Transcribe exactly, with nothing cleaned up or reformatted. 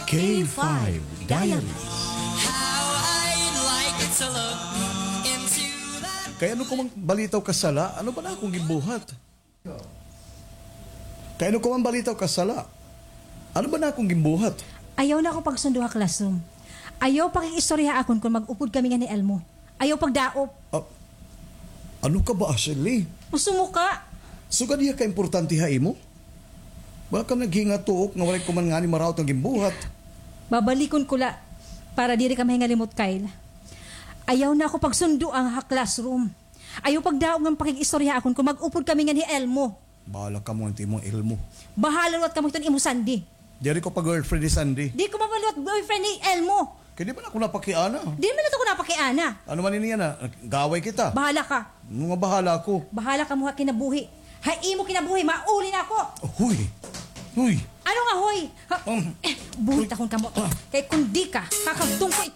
K five Diaries. How I'd like to look into that. Kay ano ko man balitaw kasala? Ano ba na akong gimbuhat? Kay ano ko man balitaw kasala? Ano ba na akong gimbuhat? Ayaw na ako pagsundo ha classroom. Ayaw pakig-istorya ha akon kon mag-upod kami ngan hi Elmo. Ayaw pagdaop. Ah, ano ka ba, Ashley? Sumuka. Sugad hiya ka importante ha imo? Baka naghingatuok nga walay ko man ngani maraot nga gimbuhat. Babalikon ko la para diri ka mahingalimot, Kyle. Ayaw na ako pagsundoan ha classroom. Ayaw pagdaop ngan pakig-istorya ha akon kon mag-upod kami ngan hi Elmo. Bahala kamo ngan it imo Elmo. Bahala liwat kamo hiton imo Sandy. Diri ko pa girlfriend ni Sandy. Di ko man liwat boyfriend ni Elmo. Kay di man ako napakiana. Di man ito ko napakiana. Ano man ini yana? Gaway kita. Bahala ka. Ano nga bahala ako? Bahala kamo ha kinabuhi. Ha imo kinabuhi, mauli na ako. Huy! Huy! Ano nga, hoy? Ha? Um, eh, buhi takon kamo. Ah. Kay kon di ka, kakagtong ko ito.